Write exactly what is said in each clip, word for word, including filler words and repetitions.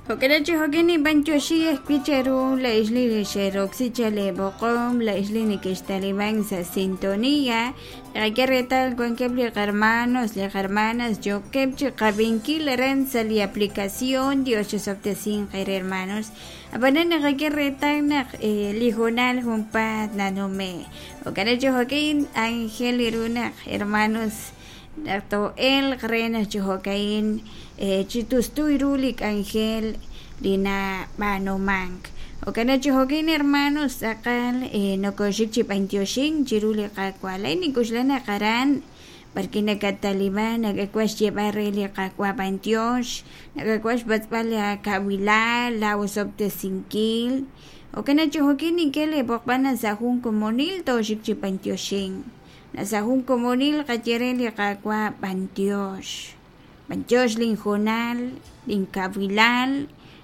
Jo'kan chi jo'kan ninb'antioxi ajwi' cheru la ixli xeroksi chaleb'oqom la ixli nikixtaliban sa' sintonía naqak'e reetal wankeb' li qarmanos li qarmanas yookeb' chi qab'inkil aran sa' li aplicación Dios chisob'tesinq eere hermanos ab'anan naqak'e reetal naq li hoonal junpaat nanume' jo'kan chi jo'kan ángel ru naq hermanos naq to'elq re naq chi jo'ka'in chi tustu ru li k'anjel li nab'aanumank jo'kan chi jo'kan hermanos tz'aqal nokoxik chi b'antioxink chiru li Qaawa' lay nink'uxla naq aran porque nakataliban nakak'uax xyeeb'al re li Qaawa' b'antiox nakak'uax xpatz'b'al la kawilal la osob'tesinkil jo'kan chi jo'kan nink'e leb'oqb'al sa' jun komonil toxik chi b'antioxink sa' jun komonil qaye re li Qaawa' b'antiox b'antiox linhoonal linkawilal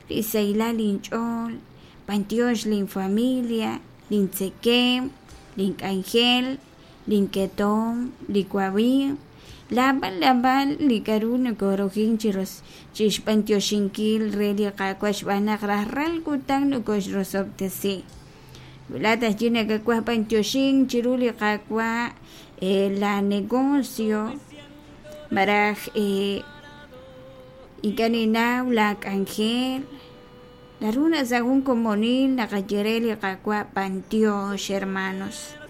li sahilal linch'ool b'antiox linfamilia lintzekem link'anjel linketom li wamiiw laab'al laab'al li k'a'ru nokorujin chiros chixb'antioxinkil re li Qaawa' xb'aan naq rajlal kutan nokoxrosob'tesi wila tajyi nakak'uaj b'antioxink chiru li Qaawa' la negocio maraj ink'a' ninaw la k'anjel naru na sa' jun komonil naqaye re li Qaawa' b'antiox hermanos.